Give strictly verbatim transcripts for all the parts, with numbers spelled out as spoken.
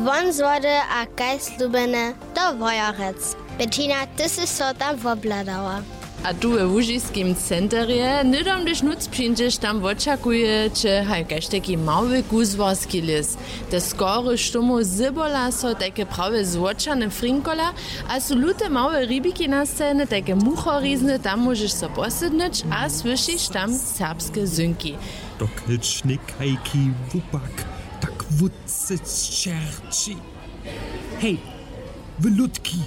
Won z wody a kaž slubjene, do Wojerec. Bettina, ty sy so tam wobhladała. A tu we łužiskim centerje hnydom hdyž nutř přińdźeš, tam wočakujeće haj kaž tajki mały kuzłarski lěs. Te skory štomow zybola so tajke prawje złóčane frinkola, a su lute małe ribiki nastajene, tajke muchorizny. Tam móžeš so posydnyć a słyšiš tam serbske zynki. Dokelž někajki wupak tak wutře sćerči. Hej, wy ludki,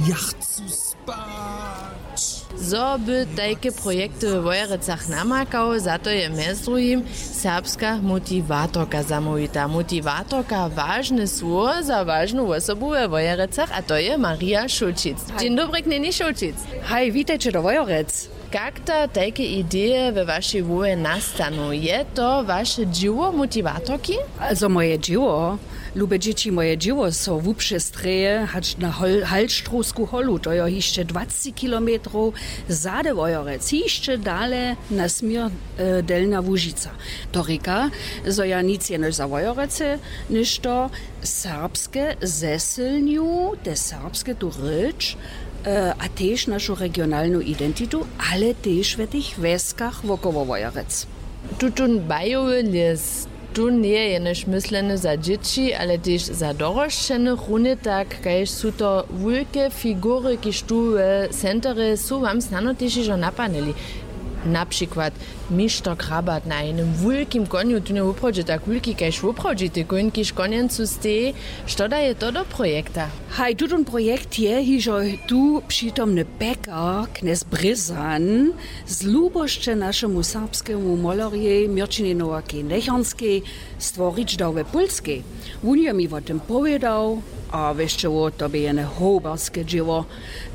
ja chcu spać. Zo by tajke projekty we Wojerecach namakał, za to je mjez druhim serbska motiwatorka zamołwita. Motiwatorka, wažne słowo za wažnu wosobu we Wojerecach, a to je Marija Šulčic. Dźeń dobry, knjeni Šulčic. Haj, witajće do Wojerec. Kak da tajke ideje we wašej hłowje nastanu? Je to waše dźěło motiwatorki? Also moje dźěło, lube dźěći, moje dźěło so wupřestrěje hač na Hol-, Halštrowsku holu, to jo hišće dwaceći kilometrow zady Wojerec, hišće dale na směr, e, Delnja Łužica. To rěka, zo ja nic jenož za Wojerece něšto serbske zesylnju, te serbske tu rěč, e, a tež našu regionalnu identitu, ale tež w tych wjeskach wokoło Wojerec. Tutón bajowy lěs, tón njeje jenož mysleny za dźěći, ale tež za dorosćenych. Runje tak, kaž su to wulke figury, kiž tu w centerje su, wam snano tež hižo napadnyli. Na přikład mišter Krabat na jenym wulkim konju, tón je woprawdźe tak wulki kaž woprawdźity kóń, kiž konjencu steji. Što daje to do projekta? Haj, tutón projekt je hižo tu přitomny pekar, knjez Brězan, z lubosće našemu serbskemu molerjej Měrćinjej Nowakej Nechornskej stworić dał we Pólskej. Wón je mi wo tym powědał, a wěsće wo, to bě jene hołbarske dźěło.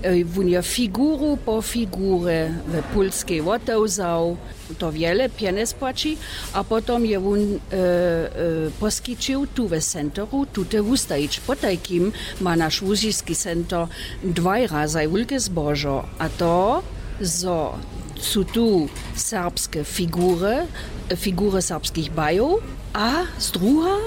E, wón je figuru po figurje we Pólskej wotewzał, to wjele pjenjez płaći, a potom je wón, e, e, poskićił tu we centeru tute wustajić. Potajkim ma naš łužiski center dwaj razaj wulke zbožo, a to, zo su tu serbske figury, figury serbskich bajow, a z druha,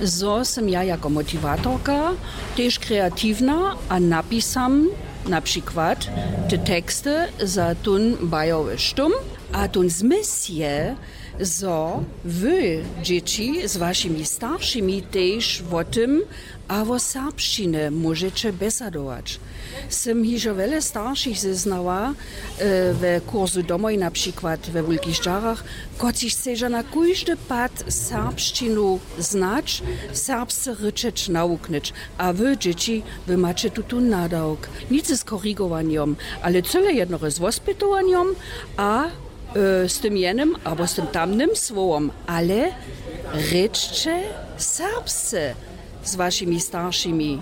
zo sym ja jako motiwatorka tež kreatiwna a napisam na přikład te teksty za tón bajowy štóm. A tón zmysł je, zo wy, dźěći, z wašimi staršimi tež wo tym a wo serbšćinje móžeće bjesadować. Sym hižo wjele staršich zeznała, e, we kursu domoj, na přikład we Wulkich Dźarach, kotřiž chceža na kóždy pad serbšćinu znać, serbsce rěčeć, nawuknyć. A wy, dźěći, wy maće tutón nadawk. Nic z korigowanjom, ale cyle jednore z wospytowanjom a, e, z tym jenym abo z tym tamnym słowom. Ale rěčće serbsce z wašimi staršimi.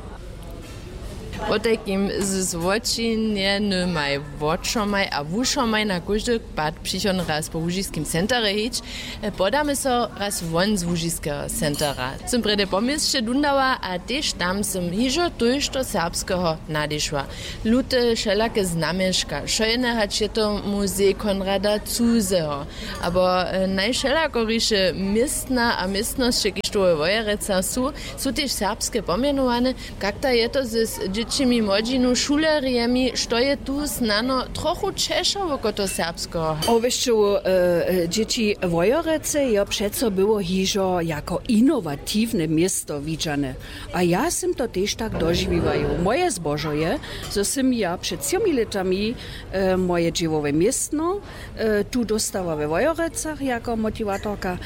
Potajkim z złočinjenymaj, wočomaj a wušomaj na kóždy pad přichodny raz po łužiskim centerje hić. E, podamy so raz won z łužiskeho centera. Sym prjedy po měsće dundała a tež tam sym hižo tójšto serbskeho nadešła. Lute wšelake znamješka, wšojene, hač je to muzej Konrada Cuzeho, abo, e, najwšelakoriše městna a městnosće, kiž tu we Wojerecach su, su tež serbske pomjenowane. Kak da je to z, z dźěćimi młodźinu, šulerjemi, što je tu snano trochu ćeša woko toho serbskeho? Owěsće, e, e, dźěći Wojerecy jo přeco było hižo jako inowatiwne město widźane. A ja sym to tež tak dožiwiła. Moje zbožo je, zo sym ja před třomi lětami, e, moje dźěłowe městno, e, tu dóstała we Wojerecach jako motiwatorka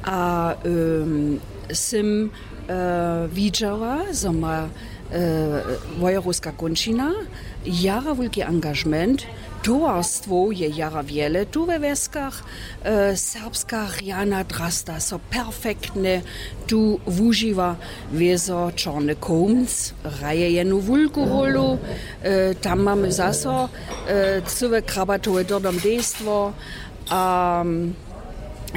a, em, sym, e, widźała, zo ma, e, wojerowska kónčina jara wulki angažement. Towarstwow je jara wjele tu we wjeskach. E, serbska rjana drasta so perfektnje tu wužiwa. Wězo Čorny kołmc hraje jenu wulku rólu. E, tam mamy zaso, e, cyłe krabatowe dyrdom dejstwo a, mm,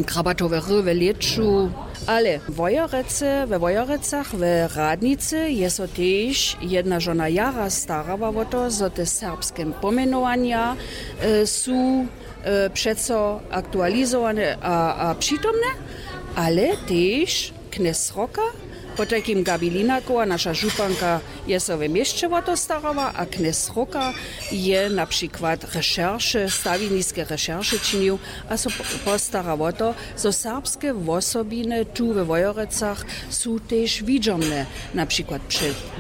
krabatowe ry we lěću. Ale w Wojerecy, we Wojerecach, we Radnicy je so tež jedna žona jara starała wo to, zo te serbske pomjenowanja, e, su, e, přeco aktualizowane a, a přitomne, ale tež knjez Sroka Potajkim Gabi Linakowa, naša županka, je so w měsće wo to starała a knjez Roka je na přikład rešerše, stawizniske rešerše činił a so postara wo to, zo serbske wosobiny tu we Wojerecach su tež widźomne, na přikład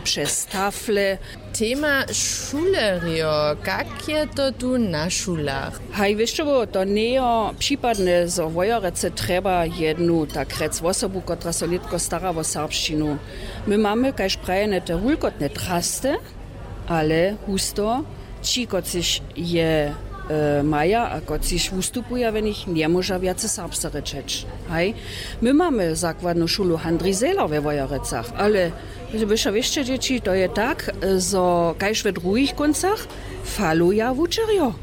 přez tafle. Tema šulerjo, kak je to tu na šulach? Haj wěšćowo to njejo připadne, zo Wojerece trjeba jednu tak rjec wosobu, kotra so nětko stara wo serbšćinu. My mamy kaž prajene te wulkotne trasty, ale husto ći kotřiž je maja a kotřiž wustupuja w nich njemóža wjace serbsce rěčeć. Haj, my mamy zakładnu šulu handri zehler we Wojerecach, ale byša wěsće dźěći to je tak, zo kaž we druhich kóncach faluja wučerjo.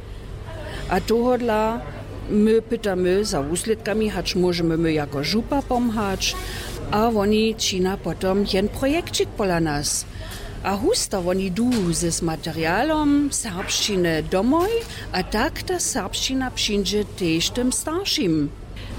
A tohodla my pytamy za wuslědkami hač móžemy my jako župa pomhać, a woni čina potom jen projekćik pola nas. A husta woni du z materialom serbšćiny domoj, a tak ta serbšćina přińdźe tež tym staršim.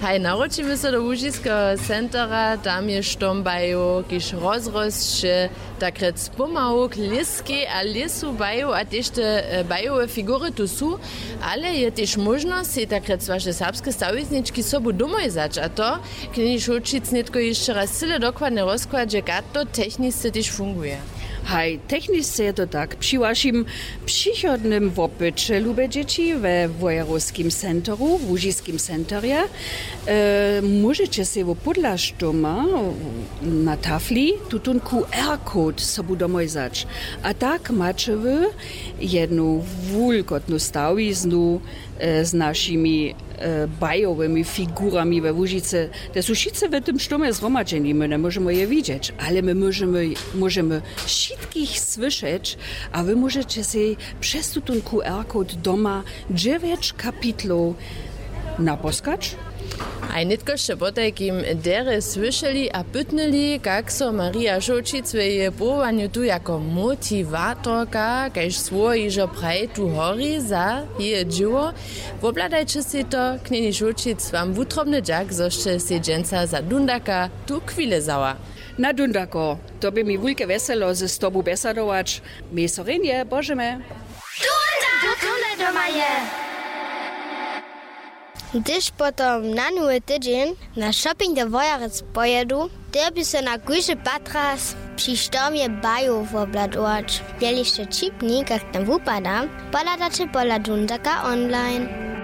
Haj, nawróćimy so do łužiskeho centera, tam je štom bajow kiž rozrosće, tak rjec pomału k lěskej a lěsu bajow a tež te bajowe figury tu su. Ale je tež móžnosć sej tak rjec waše serbske stawiznički sobu domoj wzać a to knjeni šołćic nětko hišće raz cyle dokładnje rozkładźe kak to technisce tež funguje. Haj, technisce je to tak při wašim přichodnym wopyće lube dźěći we wojerowskim centeru w łužiskim centerje, móžeće sej wo pódlaštołma na tafli tutón qr code sobu domoj wzać. A tak maće wy jednu wulkotnu stawiznu z našimi bajowymi figurami we łužicy. Te su wšitcy w tym štomje zhromadźeni my njemóžemy je widźeć ale my móžemy wšitkich słyšeć. A wy móžeće sej přez tutón qr code doma dźewjeć kapitlow naposkać. A nětko sće potajkim derje słyšeli a pytnyli kak so marija šołćic w jeje powołanju tu jako motiwatorka kaž słowo hižo praji tu hori za jeje dźěło. Wobhladajće sej to knjeni šołćic wam wutrobny dźak zo sće sej dźensa za dundaka tu chwile wzała. Na dundako, to bě mi wulke wjeselo z tobu bjesadować. Měj so rjenje božemy. Dundako doma je. Hdyž potom na nowy tydźeń na shopping do wojarec pojědu, dyrbi so na kóždy patras při štomje bajow wobhladować. Jeli sće ćipni kak tam wupada, pohladajće pola dundaka online.